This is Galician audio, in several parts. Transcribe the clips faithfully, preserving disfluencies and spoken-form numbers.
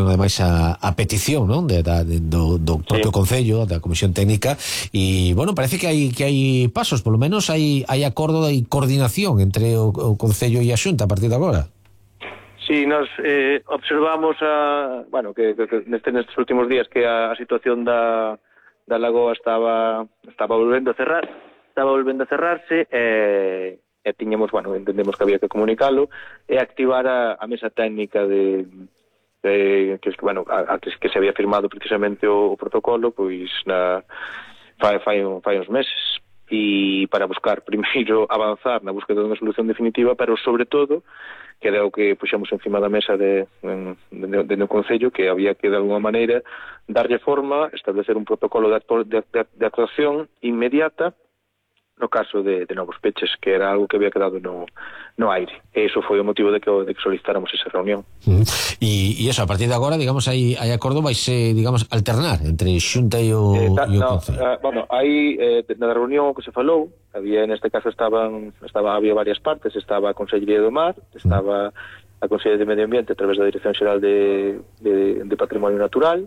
ademais a, a petición, non, de, da, de, do, do propio sí. Concello, da Comisión Técnica, e, bueno, parece que hai que hai pasos, polo menos hai hai acordo e coordinación entre o, o Concello e a Xunta a partir de agora. Sí, nos eh, observamos a, bueno, que, que, que neste, nestes últimos días que a, a situación da, da lagoa estaba estaba volvendo a cerrar, estaba volvendo a cerrarse, e, e tiñamos, bueno, entendemos que había que comunicalo e activar a, a mesa técnica de Eh, que, bueno, a, a, que se había firmado precisamente o, o protocolo pois na, fai, fai, fai uns meses, e para buscar primeiro avanzar na búsqueda dunha solución definitiva, pero sobre todo que era o que puxemos encima da mesa de, de, de, de no Concello, que había que de alguma maneira darlle forma, establecer un protocolo de, actu de, de, de actuación inmediata no caso de, de novos peches, que era algo que había quedado no, no aire. E iso foi o motivo de que, de que solicitáramos esa reunión. Uh -huh. E, e eso, a partir de agora, digamos, hai, hai acordo, vai se, digamos, alternar entre Xunta e o, eh, ta, e o no, Concello. Uh, bueno, aí, eh, na reunión que se falou, había, neste caso, estaban, estaba, había varias partes, estaba a Consellería do Mar, estaba a Consellería de Medio Ambiente a través da Dirección Xeral de, de, de Patrimonio Natural,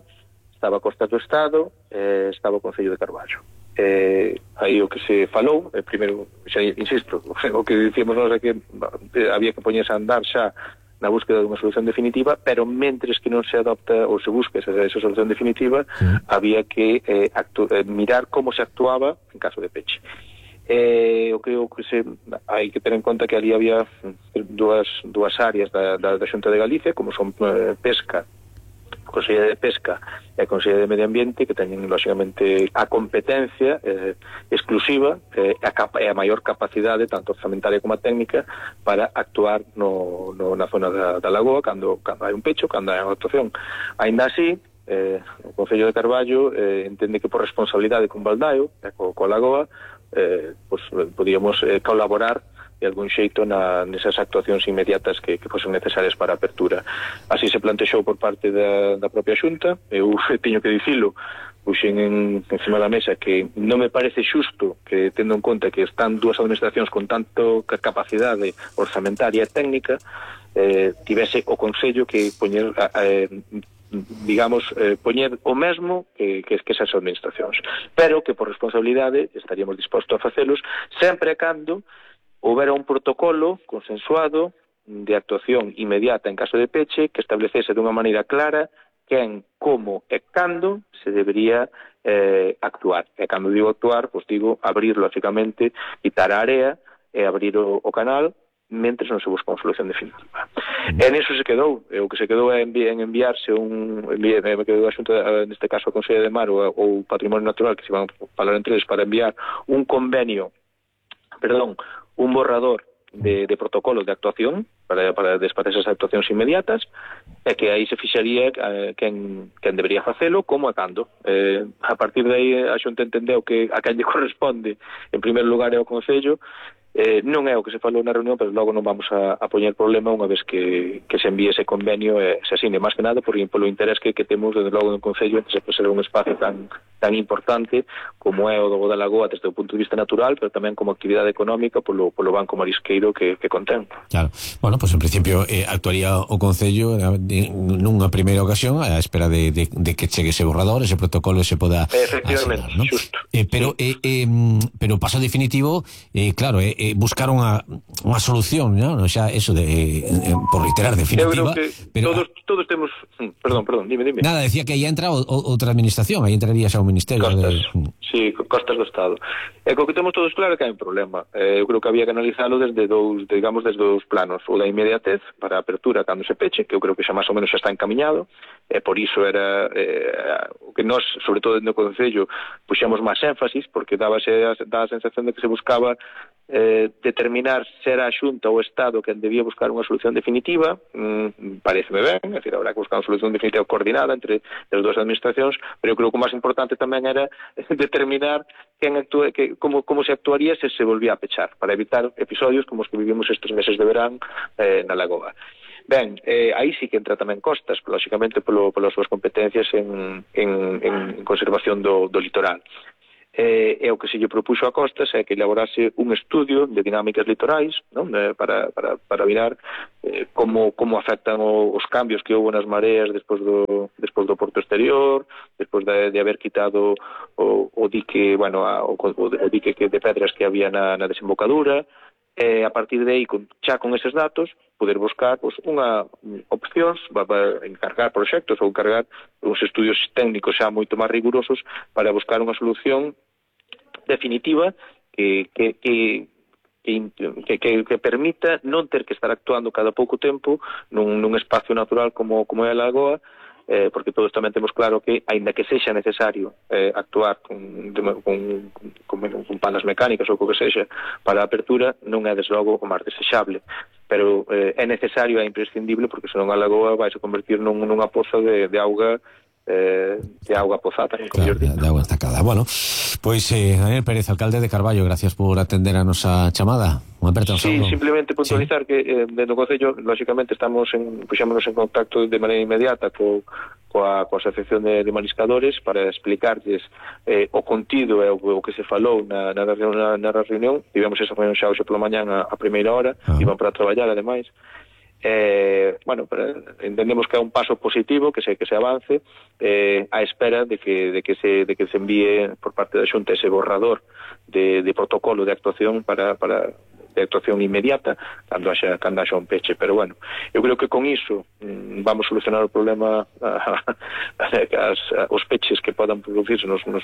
estaba a Costas do Estado, eh, estaba o Concello de Carballo. Eh, aí o que se falou, eh, primeiro, xa insisto, o que dicíamos nós é que eh, había que poñerse a andar xa na búsqueda dunha solución definitiva, pero mentres que non se adopta ou se busca esa, esa solución definitiva, sí. había que eh, eh, mirar como se actuaba en caso de peche. Eh, o que, o que se, hai que ter en conta que ali había dúas, dúas áreas da, da, da Xunta de Galicia, como son eh, pesca, Consellería de Pesca e a Consellería de Medio Ambiente, que teñen, lógicamente, a competencia eh, exclusiva e eh, a, a maior capacidade, tanto orzamentaria como a técnica, para actuar no, no, na zona da, da lagoa, cando, cando hai un pecho, cando hai unha actuación. Ainda así, eh, o Concello de Carballo eh, entende que por responsabilidade con Baldaio, e co, co lagoa, eh, pues, podíamos eh, colaborar de algún xeito na, nesas actuacións inmediatas que, que fosen necesarias para a apertura. Así se plantexou por parte da, da propia Xunta. Eu teño que dicilo, puxen en, encima da mesa que non me parece xusto que, tendo en conta que están dúas administracións con tanto capacidade orzamentaria e técnica, eh, tivese o Consello que poñer eh, digamos, eh, poñer o mesmo que, que, que esas administracións, pero que por responsabilidade estaríamos dispostos a facelos sempre e cando houbera un protocolo consensuado de actuación inmediata en caso de peche que establecese dunha maneira clara quen, como e cando se debería eh, actuar. E cando digo actuar, pois digo abrir, lógicamente, quitar a área e abrir o, o canal mentres non se busca unha solución definitiva. E niso se quedou. E o que se quedou é envi en enviarse un... Envi me quedou a xunta, neste caso a Consellería de Mar ou o Patrimonio Natural, que se van a falar entre eles para enviar un convenio, perdón, un borrador de, de protocolos de actuación para, para despatar esas actuacións inmediatas, e que aí se fixaría eh, quen, quen debería facelo, como e cando. Eh, a partir de aí a xunta entendeu que a quen lle corresponde en primeiro lugar é o Concello. Eh, non é o que se falou na reunión, pero logo non vamos a, a poñer problema unha vez que, que se envíe ese convenio e se asine, máis que nada por, polo interés que, que temos desde logo no Concello entre se ser un espacio tan, tan importante como é o do da Lagoa desde o punto de vista natural, pero tamén como actividade económica polo, polo banco marisqueiro que, que contén. Claro. Bueno, pues en principio eh, actuaría o Concello eh, nunha primeira ocasión a espera de, de, de que chegue ese borrador, ese protocolo se poda efectivamente, asenar, ¿no? Xusto. Eh, pero, eh, eh, pero paso definitivo, eh, claro, eh, eh, buscar unha, unha solución, ¿no? O sea, eso de, eh, por reiterar, definitiva. Eu creo que pero, todos, todos temos... Perdón, perdón, dime, dime. Nada, decía que aí entra o, o, outra administración, aí entraría xa o Ministerio. Costas, de... sí, Costas do Estado. E co que temos todos claro que hai un problema. Eh, eu creo que había que analizalo desde dous, digamos, desde dous planos. O da inmediatez, para a apertura cando se peche, que eu creo que xa máis ou menos xa está encaminhado, e por iso era eh, o que nós, sobre todo no Concello, puxemos máis énfasis, porque daba a sensación de que se buscaba eh, determinar se era a Xunta ou o Estado que debía buscar unha solución definitiva. Mm, pareceme ben, é dicir, habrá que buscar unha solución definitiva coordinada entre as dúas administracións, pero eu creo que o máis importante tamén era determinar quen actúe, que, como, como se actuaría se se volvía a pechar, para evitar episodios como os que vivimos estes meses de verán eh, na Lagoa. Ben, eh, aí sí que entra tamén Costas, lógicamente polo, polas súas competencias en, en, en conservación do, do litoral. eh, e o que se lle propuxo a Costas é que elaborase un estudio de dinámicas litorais, non? Eh, para, para, para mirar eh, como, como afectan o, os cambios que houve nas mareas despois do, despois do porto exterior, despois de, de haber quitado o, o dique, bueno, a, o, o dique que de pedras que había na, na desembocadura, e a partir de aí, con, xa con eses datos, poder buscar pues, unha opcións, va, va encargar proxectos ou encargar uns estudios técnicos xa moito máis rigurosos para buscar unha solución definitiva que, que, que, que, que, que permita non ter que estar actuando cada pouco tempo nun, nun espacio natural como, como é a lagoa, eh, porque todos tamén temos claro que, aínda que sexa necesario eh, actuar con, con, con, con palas mecánicas ou co que sexa para a apertura, non é desde logo o máis desexable, pero eh, é necesario, é imprescindible, porque senón a lagoa vai se convertir nun, nunha poza de, de auga eh, de auga pozada, claro, de, de agua estacada. Bueno, pois pues, eh, Daniel Pérez, alcalde de Carballo, gracias por atender a nosa chamada. Un aperto, sí, saludo. Simplemente puntualizar sí. que eh, dentro do Concello, lógicamente, estamos en, puxémonos en contacto de maneira inmediata co, coa, coa Asociación de, de Mariscadores para explicarles eh, o contido e o, o que se falou na, na, na, na reunión. Tivemos esa reunión xa hoxe pola mañán a, a primeira hora, ah. iban para traballar, ademais. Eh, bueno, entendemos que é un paso positivo, que se que se avance eh, a espera de que de que se de que se envíe por parte da Xunta ese borrador de, de protocolo de actuación para para de actuación inmediata cando haxa, cando haxa un peche, pero bueno, eu creo que con iso mmm, vamos a solucionar o problema as, os peches que podan producirse nos, nos,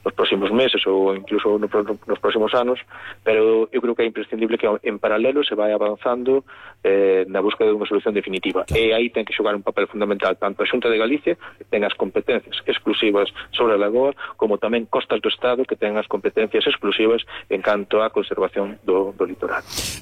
nos próximos meses ou incluso no, nos próximos anos, pero eu creo que é imprescindible que en paralelo se vai avanzando eh, na búsqueda de unha solución definitiva, claro. E aí ten que xogar un papel fundamental tanto a Xunta de Galicia, que ten as competencias exclusivas sobre a lagoa, como tamén Costas do Estado, que ten as competencias exclusivas en canto á conservación do, do litoral.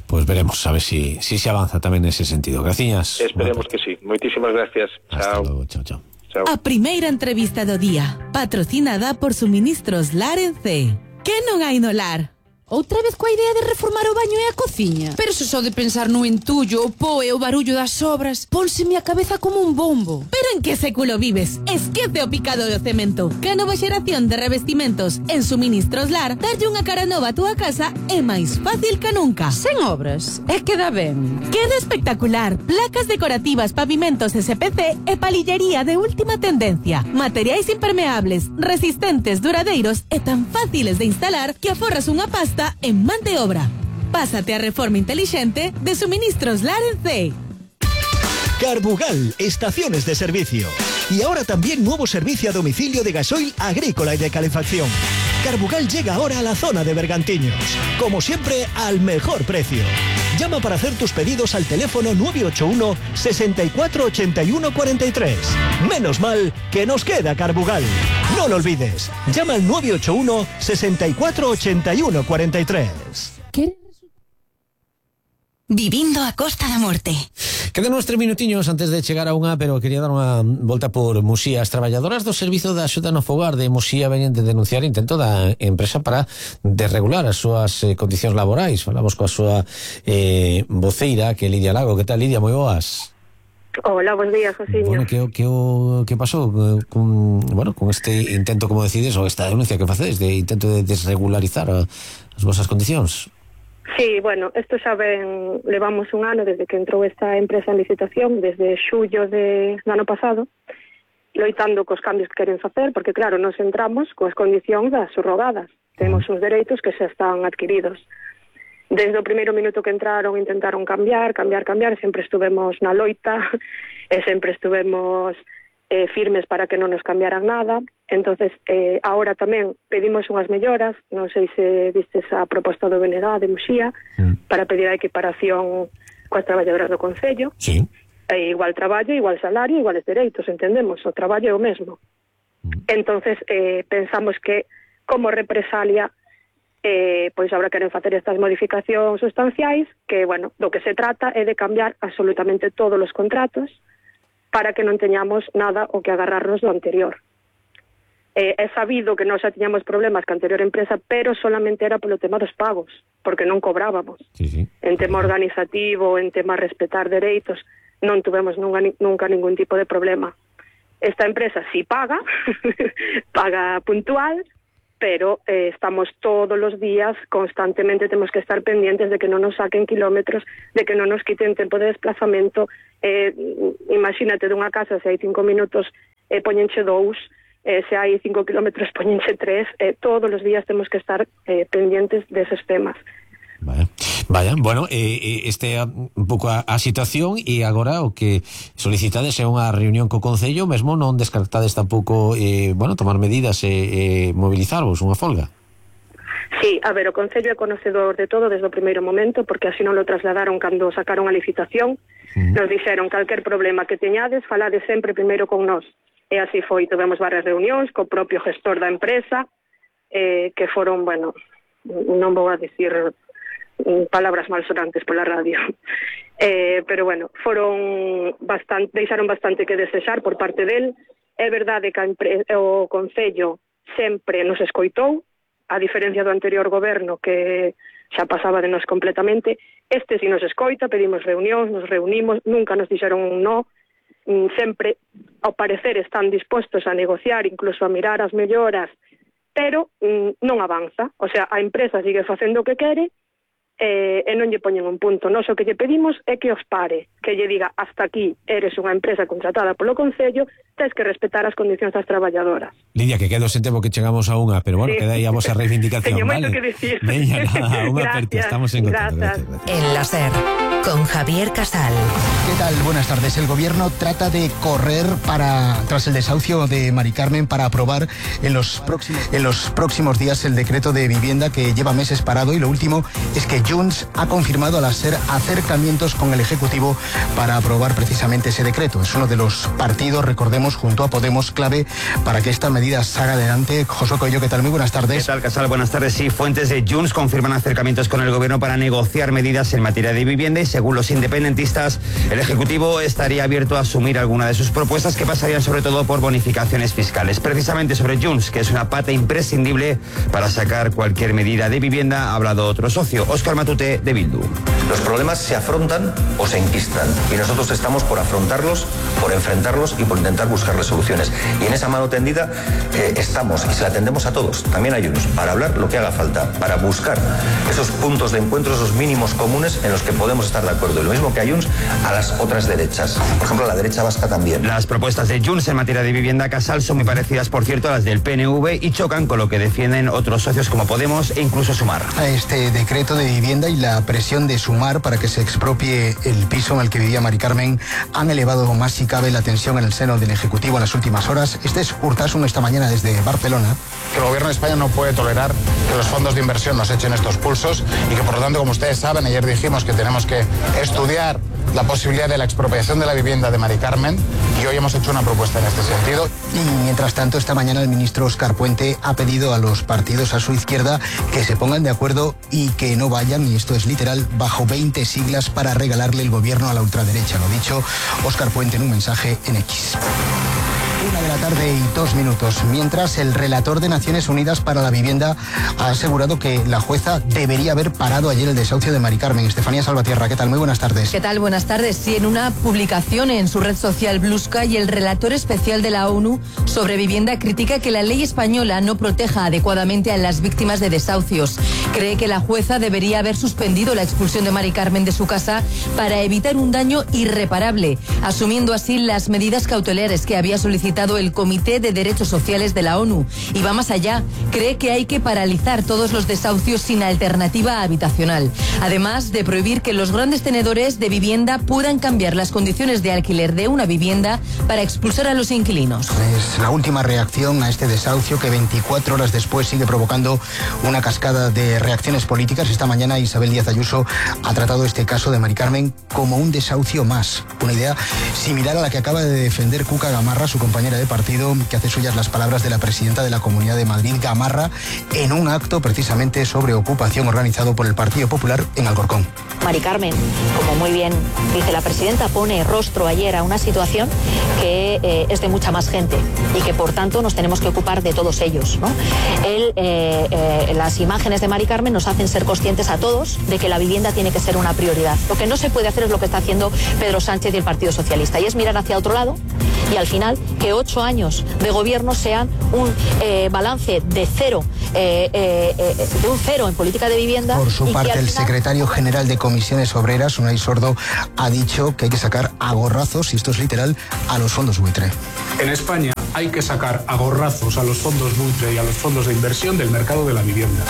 Pues veremos, a ver si, si se avanza tamén nese sentido. Graciñas. Esperemos que sí. Moitísimas gracias. Hasta Chao. Luego. Chao, chao. Chao. A primeira entrevista do día, patrocinada por Suministros Lar en C. Que non hai no lar? Outra vez coa idea de reformar o baño e a cociña? Pero se só de pensar no entullo, o po e o barullo das obras, pónseme a cabeza como un bombo. Pero en que século vives? Esquece o picado do cemento. Que a nova xeración de revestimentos en Suministros Lar darlle unha cara nova a túa casa é máis fácil que nunca. Sen obras, é queda ben. Queda espectacular. Placas decorativas, pavimentos S P C e palillería de última tendencia. Materiais impermeables, resistentes, duradeiros e tan fáciles de instalar que aforras unha pasta en man de obra. Pásate a reforma inteligente de Suministros Lar en C. Carbugal, estaciones de servicio. Y ahora también nuevo servicio a domicilio de gasoil agrícola y de calefacción. Carbugal llega ahora a la zona de Bergantiños. Como siempre, al mejor precio. Llama para hacer tus pedidos al teléfono nueve ocho uno, sesenta y cuatro, ochenta y uno, cuarenta y tres. Menos mal que nos queda Carbugal. No lo olvides. Llama al nueve ocho uno, sesenta y cuatro, ochenta y uno, cuarenta y tres. ¿Qué? Vivindo a Costa da Morte. Quedan uns tres minutiños antes de chegar a unha, pero quería dar unha volta por Muxía. As traballadoras do Servizo de Axuda no Fogar de Muxía veñen de denunciar intento da empresa para desregular as súas eh, condicións laborais. Falamos coa súa eh, voceira, que é Lidia Lago. Que tal, Lidia? Moi boas. Hola, bons días, Josiño. Bueno, que, que, que pasou con, bueno, con este intento, como decides, ou esta denuncia que facedes de intento de desregularizar a, as vosas condicións? Sí, bueno, isto xa ven, levamos un ano desde que entrou esta empresa en licitación, desde xullo de, do ano pasado, loitando cos cambios que queren facer, porque claro, nos entramos coas condicións das subrogadas, temos uns dereitos que xa están adquiridos. Desde o primeiro minuto que entraron intentaron cambiar, cambiar, cambiar, sempre estuvemos na loita, e sempre estuvemos eh, firmes para que non nos cambiaran nada. Entonces, eh, ahora tamén pedimos unhas melloras, non sei se vistes a proposta do B N G de Muxía, mm. para pedir a equiparación coas traballadoras do Concello. Sí. E igual traballo, igual salario, iguales dereitos, entendemos, o traballo é o mesmo. Mm. Entonces, eh, pensamos que, como represalia, eh, pois agora queren facer estas modificacións sustanciais, que, bueno, do que se trata é de cambiar absolutamente todos os contratos para que non teñamos nada o que agarrarnos do anterior. Eh, é sabido que nós xa tiñamos problemas ca anterior empresa, pero solamente era polo tema dos pagos, porque non cobrábamos. Sí, sí. En tema organizativo, en tema respetar dereitos, non tuvemos nunca, nunca ningún tipo de problema. Esta empresa sí paga, paga puntual, pero eh, estamos todos los días, constantemente tenemos que estar pendientes de que non nos saquen kilómetros, de que non nos quiten tempo de desplazamento. Eh, imagínate dunha casa, se hai cinco minutos, eh, poñenche dous, eh, se hai cinco kilómetros, poñenche tres. Eh, todos os días temos que estar eh, pendientes deses temas. Vaya, vaya, bueno, eh, este é un pouco a, a situación, e agora o que solicitades é unha reunión co Concello, mesmo non descartades tampouco, eh, bueno, tomar medidas e eh, eh, mobilizarvos unha folga. Sí, a ver, o Concello é conocedor de todo desde o primeiro momento, porque así non lo trasladaron cando sacaron a licitación. Uh-huh. Nos dixeron calquer problema que teñades, falade sempre primeiro con nós. E así foi, tivemos varias reunións co propio gestor da empresa, eh, que foron, bueno, non vou a dicir palabras malsonantes pola radio, eh, pero bueno, foron bastante, deixaron bastante que desexar por parte del. É verdade que a empre- o Concello sempre nos escoitou, a diferencia do anterior goberno que xa pasaba de nos completamente. Este si nos escoita, pedimos reunións, nos reunimos, nunca nos dixeron un no, sempre ao parecer están dispostos a negociar, incluso a mirar as melloras, pero mm, non avanza. O sea, a empresa sigue facendo o que quere, Eh, e non lle poñen un punto. Nós o que lle pedimos é que os pare, que lle diga hasta aquí, eres unha empresa contratada polo Concello, tens que respetar as condicións das traballadoras. Lidia, que quedo sen tempo que chegamos a unha, pero bueno, sí, queda aí a vosa reivindicación. Teño vale? moito que dicir. Veña, nada, unha aperta, estamos en contacto. Gracias, gracias. En la SER, con Javier Casal. ¿Qué tal? Buenas tardes. El gobierno trata de correr para tras el desahucio de Mari Carmen para aprobar en los próximos en los próximos días el decreto de vivienda que lleva meses parado, y lo último es que Junts ha confirmado a la SER acercamientos con el Ejecutivo para aprobar precisamente ese decreto. Es uno de los partidos, recordemos, junto a Podemos, clave para que esta medida salga adelante. Josué Coello, ¿qué tal? Muy buenas tardes. ¿Qué tal, Casal? Buenas tardes. Sí, fuentes de Junts confirman acercamientos con el gobierno para negociar medidas en materia de vivienda, y según los independentistas, el Ejecutivo estaría abierto a asumir alguna de sus propuestas, que pasarían sobre todo por bonificaciones fiscales. Precisamente sobre Junts, que es una pata imprescindible para sacar cualquier medida de vivienda, ha hablado otro socio, Óscar Matute, de Bildu. Los problemas se afrontan o se enquistan, y nosotros estamos por afrontarlos, por enfrentarlos y por intentar buscarles soluciones. Y en esa mano tendida eh, estamos, y se la tendemos a todos, también a Junts, para hablar lo que haga falta, para buscar esos puntos de encuentro, esos mínimos comunes en los que podemos estar de acuerdo. Y lo mismo que a Junts, a las otras derechas. Por ejemplo, a la derecha vasca también. Las propuestas de Junts en materia de vivienda, Casal, son muy parecidas, por cierto, a las del P N V, y chocan con lo que defienden otros socios como Podemos e incluso Sumar. A este decreto de vivienda y la presión de Sumar para que se expropie el piso en el que vivía Mari Carmen han elevado más si cabe la tensión en el seno del Ejecutivo en las últimas horas. Este es Urtasun esta mañana desde Barcelona. Que el gobierno de España no puede tolerar que los fondos de inversión nos echen estos pulsos, y que por lo tanto, como ustedes saben, ayer dijimos que tenemos que estudiar la posibilidad de la expropiación de la vivienda de Mari Carmen, y hoy hemos hecho una propuesta en este sentido. Y mientras tanto, esta mañana el ministro Óscar Puente ha pedido a los partidos a su izquierda que se pongan de acuerdo y que no vayan, y esto es literal, bajo veinte siglas para regalarle el gobierno a la ultraderecha. Lo dicho Óscar Puente en un mensaje en X. Una de la tarde y dos minutos. Mientras, el relator de Naciones Unidas para la Vivienda ha asegurado que la jueza debería haber parado ayer el desahucio de Mari Carmen. Estefanía Salvatierra, ¿qué tal? Muy buenas tardes. ¿Qué tal? Buenas tardes. Sí, en una publicación en su red social Blue Sky, el relator especial de la ONU sobre vivienda critica que la ley española no proteja adecuadamente a las víctimas de desahucios. Cree que la jueza debería haber suspendido la expulsión de Mari Carmen de su casa para evitar un daño irreparable, asumiendo así las medidas cautelares que había solicitado el Comité de Derechos Sociales de la ONU. Y va más allá, cree que hay que paralizar todos los desahucios sin alternativa habitacional, además de prohibir que los grandes tenedores de vivienda puedan cambiar las condiciones de alquiler de una vivienda para expulsar a los inquilinos. Es la última reacción a este desahucio, que veinticuatro horas después sigue provocando una cascada de reacciones políticas. Esta mañana Isabel Díaz Ayuso ha tratado este caso de Mari Carmen como un desahucio más, una idea similar a la que acaba de defender Cuca Gamarra, su compañera de partido, que hace suyas las palabras de la presidenta de la Comunidad de Madrid, Gamarra, en un acto precisamente sobre ocupación organizado por el Partido Popular en Alcorcón. Mari Carmen, como muy bien dice la presidenta, pone rostro ayer a una situación que eh, es de mucha más gente, y que por tanto nos tenemos que ocupar de todos ellos, ¿no? Él, eh, eh, las imágenes de Mari Carmen Carmen nos hacen ser conscientes a todos de que la vivienda tiene que ser una prioridad. Lo que no se puede hacer es lo que está haciendo Pedro Sánchez y el Partido Socialista, y es mirar hacia otro lado y al final que ocho años de gobierno sean un eh, balance de cero, eh, eh, eh, de un cero en política de vivienda. Por su y parte, que el final... secretario general de Comisiones Obreras, Unai Sordo, ha dicho que hay que sacar a gorrazos, y esto es literal, a los fondos buitre. En España hay que sacar a gorrazos a los fondos buitre y a los fondos de inversión del mercado de la vivienda.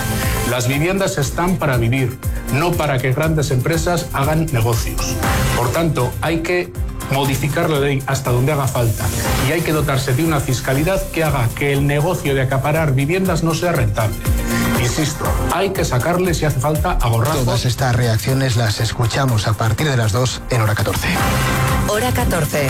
Las viviendas están para vivir, no para que grandes empresas hagan negocios. Por tanto, hay que modificar la ley hasta donde haga falta y hay que dotarse de una fiscalidad que haga que el negocio de acaparar viviendas no sea rentable. Insisto, hay que sacarle si hace falta a gorrazos. Todas estas reacciones las escuchamos a partir de las dos en Hora catorce. Hora catorce.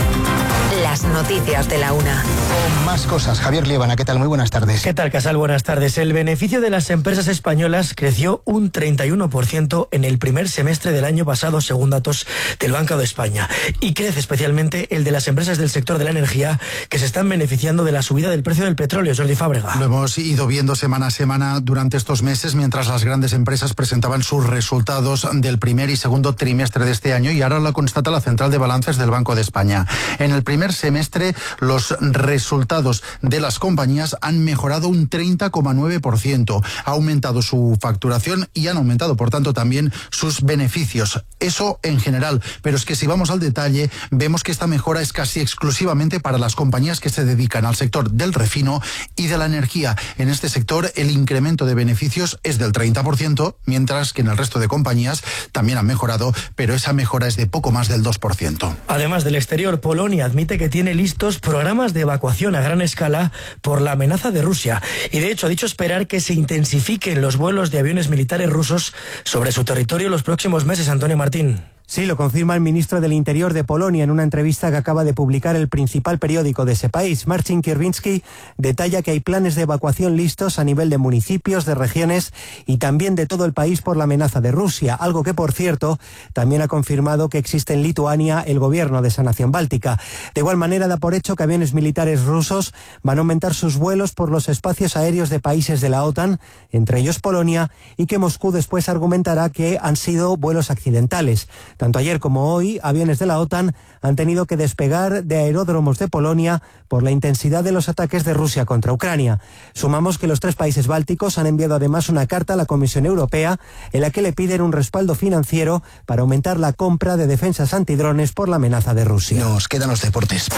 Las noticias de la una. Con más cosas. Javier Liébana, ¿qué tal? Muy buenas tardes. ¿Qué tal, Casal? Buenas tardes. El beneficio de las empresas españolas creció un treinta y uno por ciento en el primer semestre del año pasado, según datos del Banco de España. Y crece especialmente el de las empresas del sector de la energía, que se están beneficiando de la subida del precio del petróleo. Jordi Fábrega. Lo hemos ido viendo semana a semana durante estos meses, mientras las grandes empresas presentaban sus resultados del primer y segundo trimestre de este año, y ahora lo constata la Central de Balances del Banco de España. En el primer semestre, los resultados de las compañías han mejorado un treinta coma nueve por ciento. Ha aumentado su facturación y han aumentado, por tanto, también sus beneficios. Eso en general, pero es que si vamos al detalle, vemos que esta mejora es casi exclusivamente para las compañías que se dedican al sector del refino y de la energía. En este sector, el incremento de beneficios es del treinta por ciento, mientras que en el resto de compañías también han mejorado, pero esa mejora es de poco más del dos por ciento. Además del exterior, Polonia admite que tiene listos programas de evacuación a gran escala por la amenaza de Rusia, y de hecho ha dicho esperar que se intensifiquen los vuelos de aviones militares rusos sobre su territorio los próximos meses. Antonio Martín. Sí, lo confirma el ministro del Interior de Polonia en una entrevista que acaba de publicar el principal periódico de ese país. Marcin Kierwiński detalla que hay planes de evacuación listos a nivel de municipios, de regiones y también de todo el país por la amenaza de Rusia, algo que, por cierto, también ha confirmado que existe en Lituania el gobierno de esa nación báltica. De igual manera, da por hecho que aviones militares rusos van a aumentar sus vuelos por los espacios aéreos de países de la OTAN, entre ellos Polonia, y que Moscú después argumentará que han sido vuelos accidentales. Tanto ayer como hoy, aviones de la OTAN han tenido que despegar de aeródromos de Polonia por la intensidad de los ataques de Rusia contra Ucrania. Sumamos que los tres países bálticos han enviado además una carta a la Comisión Europea en la que le piden un respaldo financiero para aumentar la compra de defensas antidrones por la amenaza de Rusia. Nos quedan los deportes.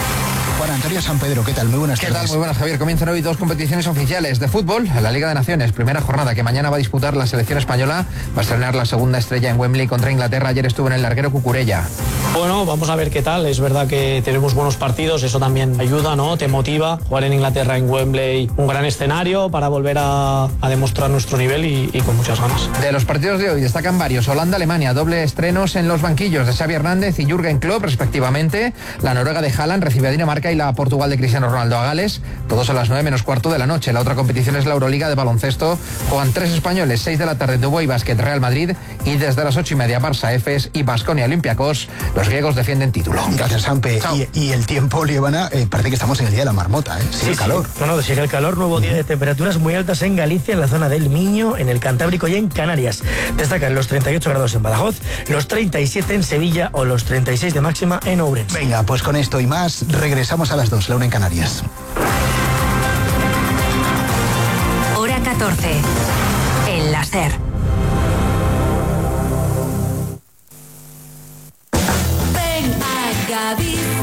Juan Antonio San Pedro, ¿qué tal? Muy buenas tardes. ¿Qué tal? Muy buenas, Javier. Comienzan hoy dos competiciones oficiales de fútbol. La Liga de Naciones, primera jornada que mañana va a disputar la selección española. Va a estrenar la segunda estrella en Wembley contra Inglaterra. Ayer estuvo en el larguero Cucurella. Bueno, vamos a ver qué tal. Es verdad que tenemos buenos partidos, eso también ayuda, ¿no? Te motiva. Jugar en Inglaterra, en Wembley, un gran escenario para volver a, a demostrar nuestro nivel y, y con muchas ganas. De los partidos de hoy destacan varios. Holanda-Alemania, doble estrenos en los banquillos de Xavi Hernández y Jürgen Klopp, respectivamente. La Noruega de Haaland recibe a Dinamarca y la Portugal de Cristiano Ronaldo a Gales. Todos a las nueve menos cuarto de la noche. La otra competición es la Euroliga de baloncesto. Juegan tres españoles, seis de la tarde, Dubái Basket, Real Madrid, y desde las ocho y media Barça, Efes y Baskonia Olympiacos. Los griegos defienden título. Gracias, Sampe. Y, y el tiempo, Liébana, eh, parece que estamos en el día de la marmota, ¿eh? Sigue sí, el calor. Sí. No, no, sigue el calor. Nuevo día de temperaturas muy altas en Galicia, en la zona del Miño, en el Cantábrico y en Canarias. Destacan los treinta y ocho grados en Badajoz, los treinta y siete en Sevilla o los treinta y seis de máxima en Ourense. Venga, pues con esto y más, regresamos a las dos, la una en Canarias. Hora catorce. El láser.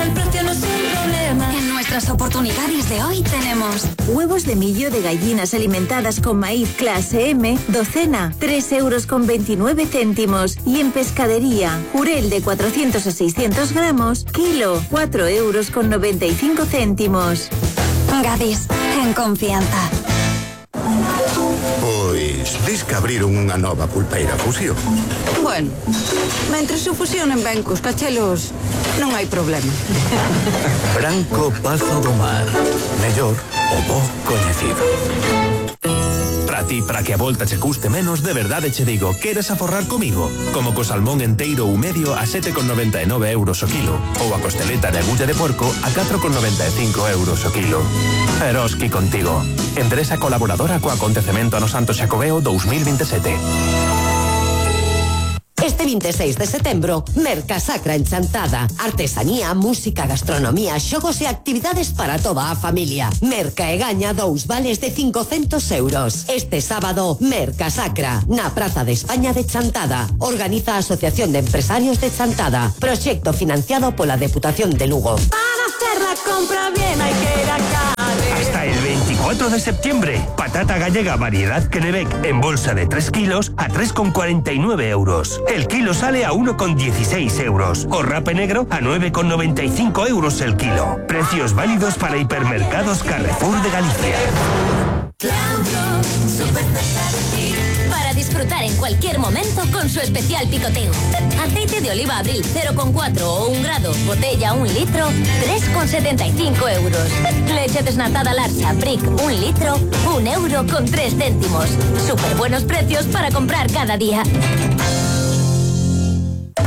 El precio no es un problema. En nuestras oportunidades de hoy tenemos huevos de millo de gallinas alimentadas con maíz clase M, docena, tres euros con veintinueve céntimos. Y en pescadería, jurel de cuatrocientos a seiscientos gramos, kilo, cuatro euros con noventa y cinco céntimos. Gadis, en confianza. Pois, dis que abriron unha nova pulpeira Fusión. Bueno, mentre se fusionen ben cos cachelos, non hai problema. Branco Pazo do Mar, mellor o bo coñecido. Para ti, para que a volta che custe menos, de verdade che digo, queres aforrar comigo? Como co salmón enteiro ou medio a sete con noventa e nove euros o kilo, ou a costeleta de agulla de porco a catro con noventa e cinco euros o kilo. Eroski contigo. Empresa colaboradora co acontecemento ano Santo Xacobeo dos mil veintisiete. Este veintiséis de setembro, Mercasacra en Chantada. Artesanía, música, gastronomía, xogos e actividades para toda a familia. Merca e gaña dous vales de cincocentos euros. Este sábado, Mercasacra, na Praza de España de Chantada. Organiza a Asociación de Empresarios de Chantada. Proxecto financiado pola Deputación de Lugo. Para hacer la compra bien hay que ir a Carre. Hasta el veinticuatro de septiembre, patata gallega variedad Kennebec en bolsa de tres kilos a tres con cuarenta y nueve euros. El kilo sale a uno con dieciséis euros. O rape negro a nueve con noventa y cinco euros el kilo. Precios válidos para hipermercados Carrefour de Galicia. Para disfrutar en cualquier momento con su especial picoteo. Aceite de oliva Abril cero coma cuatro o un grado, botella un litro, tres con setenta y cinco euros. Leche desnatada Larsa Brick un litro, un euro con tres céntimos. Súper buenos precios para comprar cada día.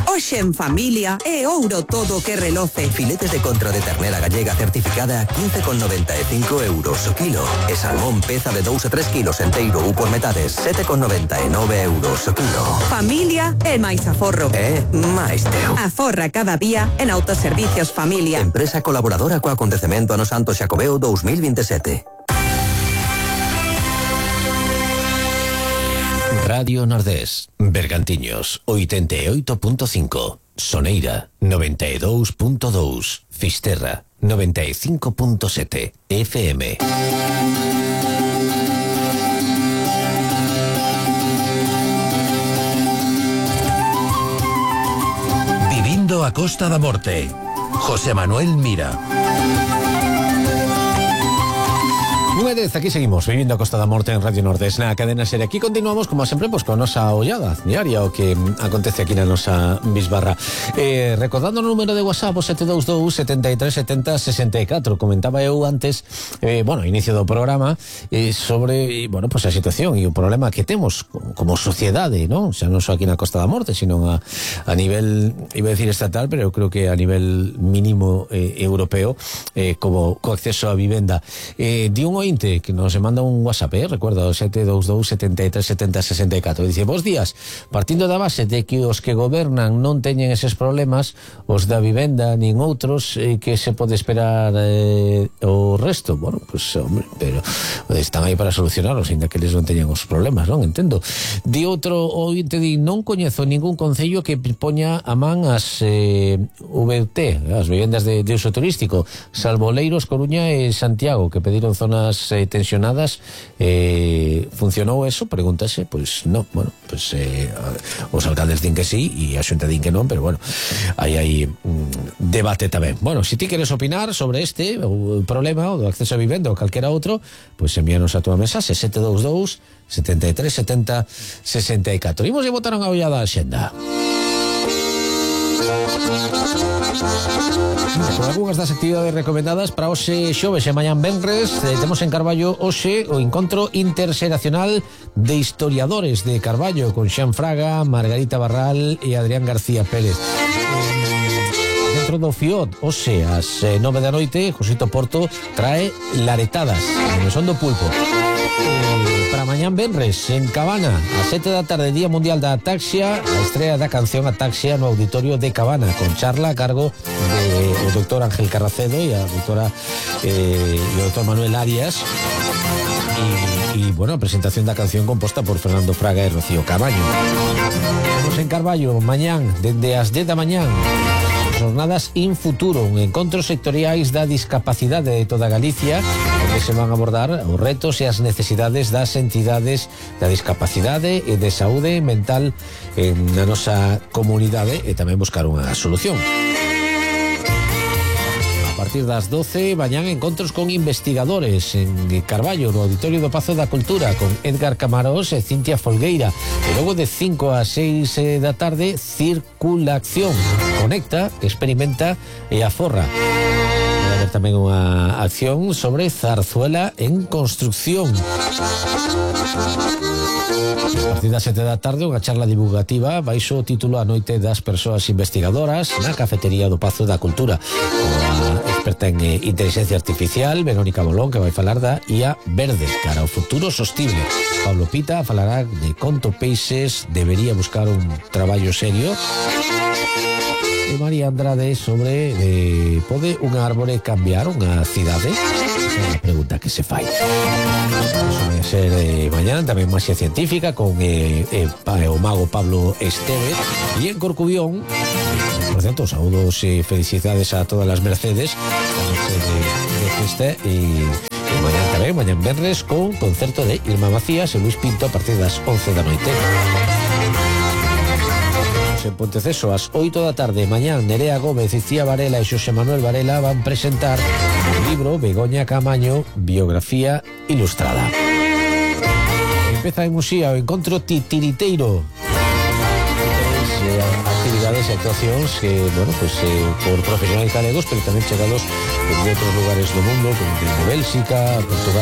Hoxe en familia é ouro todo que reloce. Filetes de contra de ternera gallega certificada a quince con noventa e cinco euros o kilo. E salmón peza de dous a tres kilos enteiro ou por metades, sete con noventa e nove euros o kilo. Familia é máis aforro. É máis teu. Aforra cada día en Autoservicios Familia. Empresa colaboradora co acontecemento ano Santo Xacobeo dos mil veintisiete. Radio Nordés, Bergantiños, ochenta e oito punto cinco, Soneira, noventa e dous punto dous, Fisterra, noventa e cinco punto sete, F M. Vivindo a Costa da Morte, José Manuel Mira. Unha vez, aquí seguimos, vivindo a Costa da Morte en Radio Nordés na cadena serie. Aquí continuamos, como sempre, pues, con a nosa ollada diaria, o que acontece aquí na nosa bisbarra. Eh, recordando o número de WhatsApp, o sete dous dous, sete tres sete zero, sesenta e catro. Comentaba eu antes, eh, bueno, inicio do programa, eh, sobre, bueno, pues a situación e o problema que temos como, como sociedade, non? Xa non só aquí na Costa da Morte, sino a, a nivel, iba a decir estatal, pero eu creo que a nivel mínimo eh, europeo, eh, como co acceso a vivenda. Eh, di un que nos manda un WhatsApp, eh? Recuerda, o sete dous dous, sete tres sete zero, sesenta e catro. Dice, bos días, partindo da base de que os que gobernan non teñen eses problemas, os da vivenda nin outros, eh, que se pode esperar eh, o resto. Bueno, pues, hombre, pero están aí para solucionarlos, ainda que eles non teñen os problemas, non? Entendo. Di outro ointe, di, non coñezo ningún concello que poña a man as eh, V T, as vivendas de, de uso turístico, salvo Leiros, Coruña e Santiago, que pediron zonas Eh, tensionadas. Eh, funcionou eso? Pregúntase. Pois non, bueno, pois eh, os alcaldes din que sí e a xunta din que non, pero bueno, hai aí mm, debate tamén. Bueno, se ti queres opinar sobre este o problema o do acceso a vivenda ou calquera outro, pois envíanos a túa mensaxe sete dous dous, sete tres sete zero, sesenta e catro. Imos e botar unha ollada a xenda. Con algunhas das actividades recomendadas para hoxe xoves e mañán venres, eh, temos en Carballo hoxe o encontro interxeracional de historiadores de Carballo con Xan Fraga, Margarita Barral e Adrián García Pérez. Dentro do Fiot, hoxe ás nove da noite, Josito Porto trae Laretadas, no son do pulpo. Eh, para mañán venres en Cabana a sete da tarde, Día Mundial da Ataxia, a estrea da canción Ataxia no Auditorio de Cabana, con charla a cargo de o doctor Ángel Carracedo e a doutora eh, e o doctor Manuel Arias e, e bueno, a presentación da canción composta por Fernando Fraga e Rocío Cabaño. Vamos en Carballo mañán dende as dez da mañán, Jornadas In Futuro, un encontro sectoriais da discapacidade de toda Galicia, onde se van a abordar os retos e as necesidades das entidades da discapacidade e de saúde mental na nosa comunidade e tamén buscar unha solución. A partir das doce, mañán encontros con investigadores en Carballo, no Auditorio do Pazo da Cultura, con Edgar Camarós e Cintia Folgueira. E logo de cinco a seis da tarde, Circulación. Conecta, experimenta e aforra. haber tamén unha acción sobre Zarzuela en construcción. A partir das sete da tarde, unha charla divulgativa baixo o título A noite das persoas investigadoras na cafetería do Pazo da Cultura, unha experta en eh, inteligencia artificial, Verónica Bolón, que vai falar da I A verde cara ao futuro sostible. Pablo Pita falará de conto peixes debería buscar un traballo serio. E María Andrade sobre eh, pode unha árbore cambiar unha cidade? Esa é a pregunta que se fai. Eso vai ser eh, mañán tamén máxia científica con eh, eh, o mago Pablo Esteve. E en Corcubión, por cierto, saúdos e felicidades a todas as Mercedes a noche de, de festa e, e mañán tamén, mañán venres con concerto de Irma Macías e Luis Pinto a partir das once da noite. En Ponteceso, ás oito da tarde, mañán, Nerea Gómez, Icía Varela e Xosé Manuel Varela van presentar o libro Begoña Camaño, biografía ilustrada. Empeza en Musía o encontro titiriteiro. Actividades e actuacións que, bueno, pues eh, por profesionales galegos, pero tamén chegados de outros lugares do mundo, como de Bélxica, Portugal.